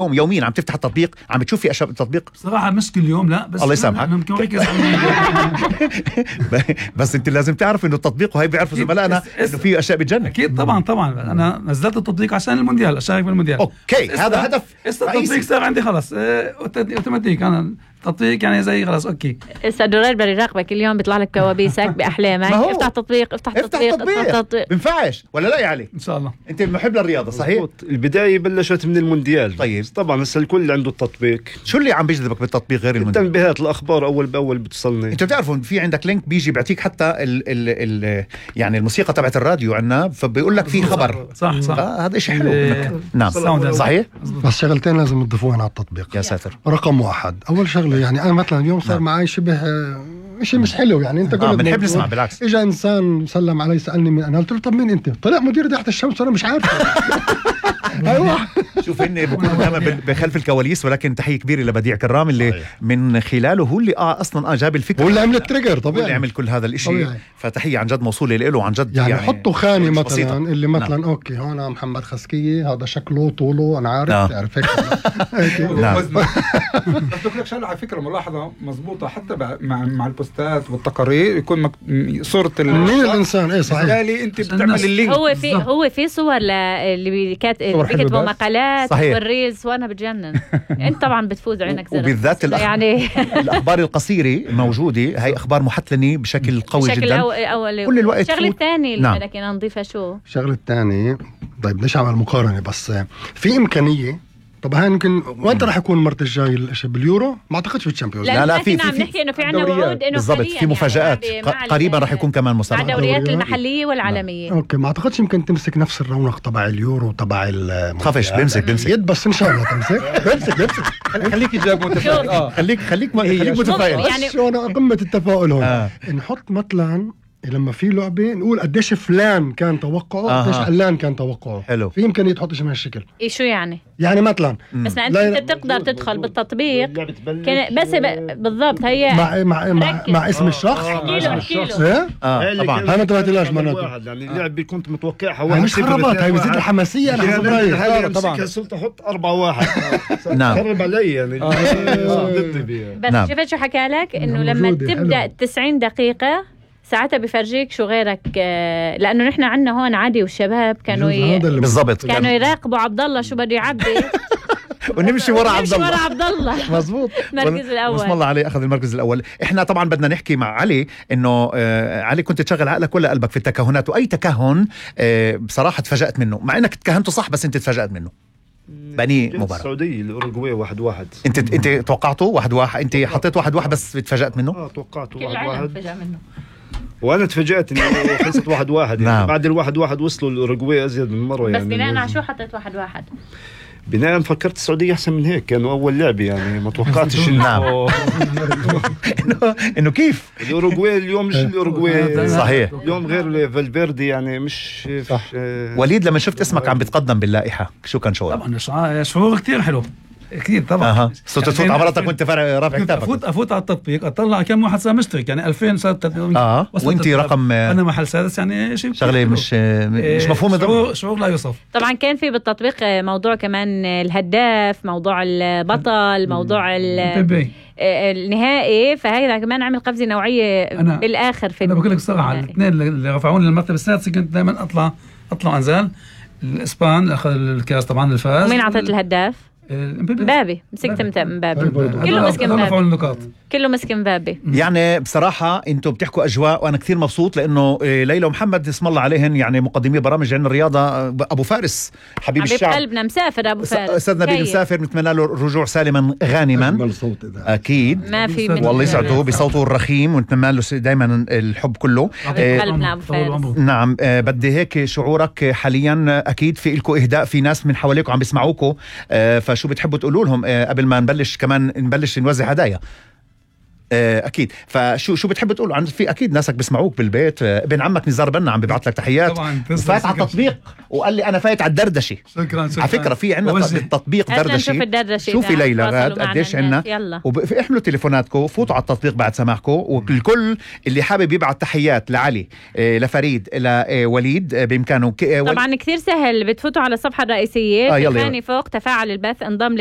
يوميا عم تفتح التطبيق، عم تشوف في اشياء بالتطبيق؟ صراحة مش كل يوم، لا، بس الله يسامحك. أنا ممكن أركز على بس انت لازم تعرف انه التطبيق، وهي بيعرفوا زملائنا انه في اشياء بتجنن. أكيد طبعا أنا نزلت التطبيق عشان المونديال، أشارك بالمونديال. اوكي، هذا هدف التطبيق صار عندي خلاص اوتوماتيك. أنا تطبيق يعني زي خلاص اوكي. السدورات بيراقبك اليوم، بيطلع لك كوابيسك باحلامك. افتح تطبيق افتح تطبيق. بنفعش ولا لا يا علي؟ ان شاء الله. انت محب للرياضه صحيح؟ البدايه بلشت من المونديال. طيب طبعا هسه الكل عنده التطبيق. شو اللي عم بيجذبك بالتطبيق غير المونديال؟ تنبيهات الاخبار اول باول بتصلني. انتوا بتعرفوا في عندك لينك بيجي بيعطيك حتى ال يعني الموسيقى تبعت الراديو عنا، فبيقول لك في خبر. صح هذا شيء حلو. نعم صحيح. بس شغلتين لازم تضيفوهن على التطبيق. يا ساتر. رقم واحد، اول شغله يعني انا مثلا اليوم صار معي شبه شيء مش حلو، يعني انت قلت بنحب نسمع. بالعكس اجى انسان سلم علي سالني من انا، قلت له طب مين انت؟ طلع مدير تحت الشمس وانا مش عارف. ايوه شوف هن بكونوا دائما بخلف الكواليس، ولكن تحيه كبيره لبديع كرام اللي من خلاله هو اللي اصلا جاب الفكره، هو اللي عمل التريجر طبيعي، هو اللي عمل كل هذا الاشي. فتحيه عن جد موصوله له عن جد. يعني حطوا خانه مثلا بسيطة. اللي مثلا اوكي هون محمد خسكيه، هذا شكله طوله انا عارف تعرف هيك. نعم. بس لك شغله على فكره ملاحظه مضبوطه، حتى مع البوستات والتقارير يكون صوره مين الانسان. ايه صحيح، بالتالي انت بتعمل اللينك. هو في صور اللي بيكتبوا مقالات والريلز، وانا بتجنن. انت طبعا بتفوز عينك زرق، وبالذات يعني الاخبار القصيره موجوده، هي اخبار محتلنه بشكل قوي جدا كل الوقت. الشغله الثانيه اللي نعم. بدنا نضيفها شو الشغله الثانيه؟ طيب ليش عمل مقارنه؟ بس في امكانيه. طب هاي يمكن وانت راح يكون المرة الجاي الاشي باليورو؟ ما اعتقدش في الشامبيونز. لا في عم نحكي انه في عندنا وعود انه بالضبط في مفاجآت قريبا راح يكون كمان مسابقة مع الدوريات المحلية والعالمية. اوكي، ما اعتقدش يمكن تمسك نفس الرونق تبع اليورو تبع خفش. بمسك يد بس ان شاء الله تمسك. بمسك خليك جاب متفائل. خليك متفائل. يعني شو انا قمة التفاؤل هون. نحط مثلا لما في لعبة نقول قديش فلان كان توقعه قديش علان كان توقعه. حلو. في إمكانية تحط شيء من هالشكل. إيه شو يعني مثلا بس انت بتقدر تدخل بالتطبيق بس بالضبط هي مع اسم الشخص. احكي له. طبعا هاي ما انتبهتلاش معناته. يعني اللعبة كنت متوقعها واحد مش خربات، هاي بزيد الحماسية. أنا طبعا صرت أحط 4-1. نعم. خرب علي يعني. بس شفت شو حكى لك انه لما تبدأ 90 دقيقة ساعتها بفرجيك شو غيرك. لانه نحن عندنا هون عادي والشباب كانوا بالضبط كانوا يراقبوا عبد الله شو بده يعبي ونمشي ورا عبد الله. مظبوط. المركز الاول بسم الله عليه اخذ المركز الاول. احنا طبعا بدنا نحكي مع علي انه علي كنت تشغل عقلك ولا قلبك في التكهنات؟ واي تكهن بصراحه تفاجأت منه، مع انك تكهنته صح بس انت تفاجأت منه. بني مباراة السعودية الأوروغواي 1-1. انت توقعته 1-1؟ انت حطيت 1-1 بس تفاجأت منه؟ توقعته 1-1 تفاجأ منه. وانا تفاجأت انه خلصت 1-1. نعم. بعد 1-1 وصلوا الأوروغواي ازيد من مرة. بس يعني بناء على شو حطيت 1-1؟ بناء فكرت السعودية احسن من هيك، كانوا اول لعبة يعني ما توقعتش انه كيف الأوروغواي اليوم مش الأوروغواي صحيح. اليوم غير فالفيردي يعني مش صح. وليد لما شفت اسمك عم بتقدم باللائحة شو كان شعورك؟ طبعا شعور كتير حلو اكيد طبعا. صرت تفوت على مرتك وانت رافع كتابك. افوت على التطبيق اطلع كم واحد صار مشترك، يعني 2000 صارت. وانت رقم انا محل سادس، يعني شيء شغله مش مفهومه. شعور لا يوصف. طبعا كان في بالتطبيق موضوع كمان الهداف، موضوع البطل، موضوع النهائي، فهذا كمان عمل قفزه نوعيه بالاخر. انا بقول لك بصراحه الاثنين اللي رفعوني للمرتبه السادسه كنت دائما اطلع انزل. الاسبان اخذ الكاس طبعا الفاز. ومين اعطيت الهداف؟ مبابي. مسكت مبابي. كله مسك مبابي. كله مسك مبابي. يعني بصراحة انتم بتحكوا اجواء وانا كثير مبسوط، لانه ليلى ومحمد اسم الله عليهن يعني مقدمي برامج عن الرياضة. ابو فارس حبيب الشعب قلبنا مسافر. ابو فارس استاذ نبيل مسافر، نتمنى له الرجوع سالما غانما اكيد. ما في والله يسعده بصوته الرخيم، ونتمنى له دائما الحب كله. قلبنا ابو فارس. نعم. بدي هيك شعورك حاليا، اكيد في لكم اهداء، في ناس من حواليكم عم بيسمعوكم، فشو بتحبوا تقولوا لهم قبل ما نبلش كمان نوزع هدايا؟ اكيد. فشو بتحب تقول في اكيد ناسك بسمعوك بالبيت. ابن عمك نزار بنا عم بيبعث لك تحيات طبعا. فات على التطبيق وقال لي انا فايت على الدردشه. شكرا. على فكره في عندنا بالتطبيق دردشه. شوفي ليلى قديش عندنا. احملوا تليفوناتكم فوتوا على التطبيق بعد سماعكم. والكل اللي حابب يبعث تحيات لعلي لفريد لوليد بامكانه. طبعا كثير سهل، بتفوتوا على الصفحه الرئيسيه ثاني فوق تفاعل البث، انضم للنا